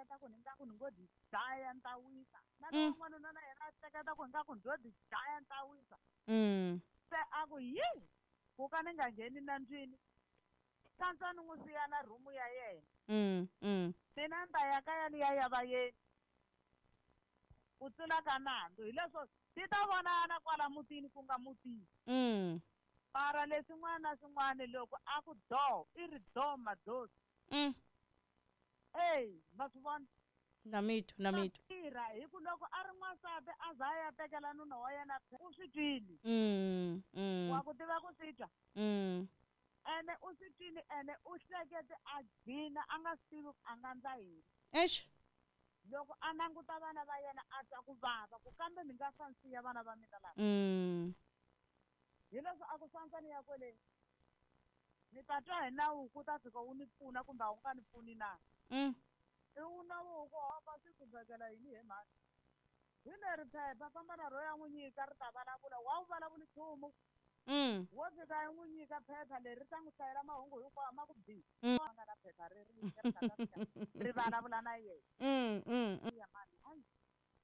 hleketa ku ni nga ku ni ngo di dlaya ni ta wisa na lowa n'wanuna na yena a hleketa ku ingaku ndzo di dlaya ni ta wisa. Se a ku yi ku ka ni nga ngheni nandzwini swantswa ni n'wi siya na rhumu ya yena. Mina ni ta ya kaya ni ya ya vayeni ku tlula ka nandzu hi leswo ti ta vonana kwala mutini ku nga mutini. Mara leswin'wana na swin'wana loko a ku doo i ri doo madoti. Eyi ma swi vona. Na mi twa, na mi twa. Tirha hi ku loko a ri n'wansati a za a ya tekela nuna wa yena u swi twile. Wa ku tiva ku swi twa. Ene u swi twile ene u hlekete a gcina a nga swi tivi ku a nga ndla yini. Eish. Loko a languta vana va yena a twa ku vava ku kambe ni nga fa ni siya vana va mina lava. Hi leswi a ku swantswa ni ya kwele ni ta twa hi nawu ku ta fika wu ni pfuna kumbe a wu nga ni pfuni na. I wu nawu ku hava swi ku vekela yini he mhani. Hi leri phepha famba na ro ya n'wi nyika ri ta vulavula wa wu vulavuli nchumu. Wo fika i n'wi nyika phepha leri ri ta n'wi hlayela mahungu hinkwawo ma ku bi. A nga na phepha ri ri ri nga ta fika ri vulavula na yena. Ya mhani hayi.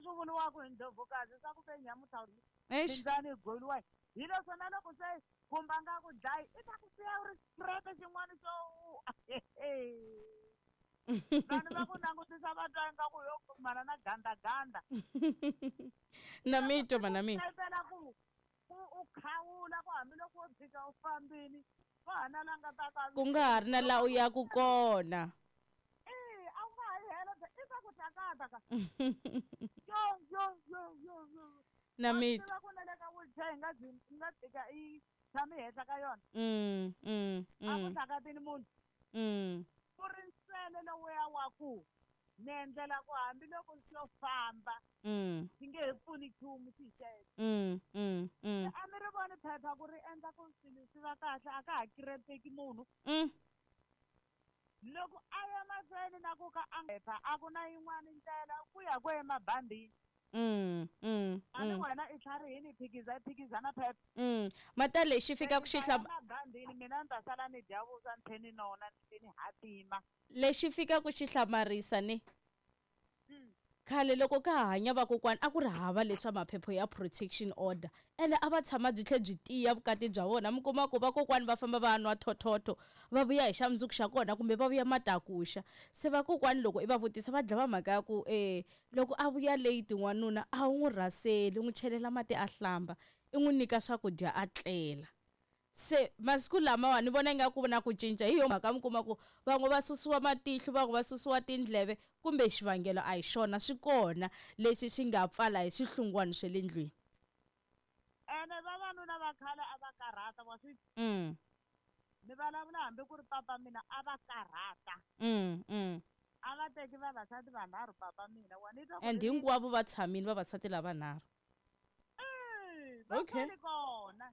Swi vuriwaka hi ndlovukazi swa ku ve nyamutlha mindzani yi goliwa hi leswo na loko se khumba nga ku dlayi i ta ku siya u ri xirete xin'wana xo vanhu va ku langutisa va twa ingaku yo kumana na gandaganda. Na mi twa mana mina. Phela ku u khawula ku hambiloko wo tshika u fambini wa ha na la nga ta ka ku nga ha ri na laha u yaku kona. Eh, a wu nga ha yi helo i ta ku tlakata ka. Yo yo yo yo yo. Na mi twa. Ku na le ka wheelchair hi nga byi nga tika i tshami henhla ka yona. A ku tlakatini munhu. Ku ri nsele lowuya wa ku ni endlela ku hambiloko xo famba xi nge he pfuni nchumu xi hi xexo. A mi ri voni phepha ku ri endla ku swilo swi va kahle a ka ha kirepeki munhu. Loko a ya mahlweni na ku ka a phepha a ku na yin'wana ndlela ku ya ku emabandini. A ni wena i tlharihini i phikiza i phikiza na phepha. Mata lexi fika ku xi mabandini mina ni ta sala ni dya vuswa ni tlhe ni nona ni tlhe ni hatima. Lexi fika ku xi hlamarisa ni khale loko ka ha hanya vakokwani a ku ri hava leswa maphepha ya protection order ene a va tshama byi tlhe byi tiya vukati bya vona mi kuma ku vakokwani va famba va nwa thothotho va vuya hi xa mundzuku xa kona kumbe va vuya matakuxa se vakokwani loko i va vutisa va dlava mhaka ya ku loko a vuya late n'wanuna a wu n'wi rhaseli u n'wi chelela mati a hlamba i n'wi nyika swakudya a tlela. Se masiku lamawa ni vona ingaku na ku cinca hi yo mhaka mi kuma ku van'we va susiwa matihlo van'we va susiwa tindleve kumbe xivangelo a hi xona swi kona leswi swi nga pfala hi swihlungwana swa le ndlwini. Ene vavanuna va khale a va karhata wa swi ni vulavula hambi ku ri papa mina a va karhata. A va teki vavasati vanharhu papa mina wa ni twa ku And hinkwavo va tshamile vavasati lavanharhu. Va okay. Kona.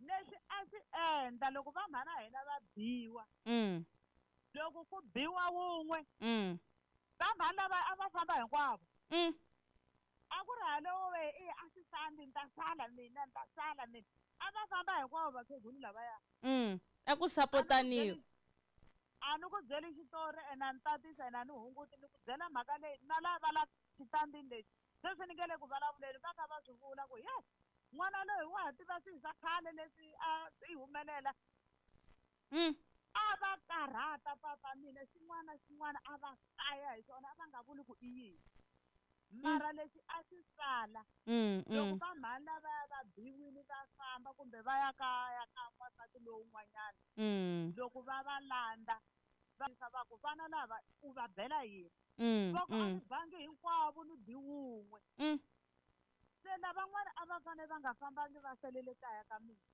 Leswi a swi endla loko va mhana hina va biwa. Loko ku biwa wun'we. Va mhana lava a va famba hinkwavo. A ku ri halowo we i a swi fambi ni ta sala mina ni ta sala mina. A va famba hinkwavo vakhegulu lavaya. A ku sapotaniwa. A ni ku byeli xitori ene a ni tatisa ene a ni hunguti ni ku byela mhaka leyi na lava la xitandini lexi. Sweswi ni nge le ku vulavuleni va kha va swi vula ku yes n'wana loyi wa ha tiva swilo swa khale leswi a swi humelela. A va karhata papa mina xin'wana na xin'wana a va kaya hi swona a va nga vuli ku i yini. Mara lexi a xi sala loko va mhani lavaya va biwile va famba kumbe va ya kaya ka n'wansati lowun'wanyana loko va va landza va ku vana lava u va bela yini. Va ku a ni bangi hinkwavo ni bi wun'we. Se lavan'wana a va fanele va nga fambangi va salele kaya ka mina.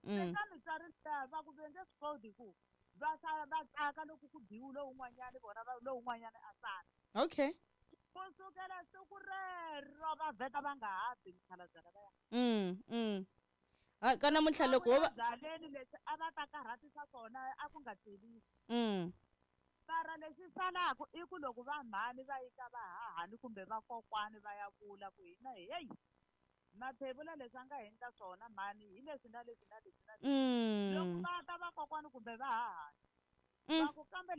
Se ka mitswari liya va ku ve nge swi koti ku va sala va tsaka loko ku biwe lowun'wanyana vona va lowun'wanyana a sala. Okay. Ku sukela siku rero va vheta va nga ha bi mikhalabye lavaya. Ha ka namuntlha loko wo va byaleni leswi a va ta karhatisa swona a ku nga tlelisi. Mara lexi salaka i ku loko va mhani va yika va hahani kumbe vakokwani va ya vula ku hina heyi mathevula leswi a nga endla swona mhani hi leswi na leswi na leswi na leswi. Loko va ta vakokwani kumbe va hahani va ku kambe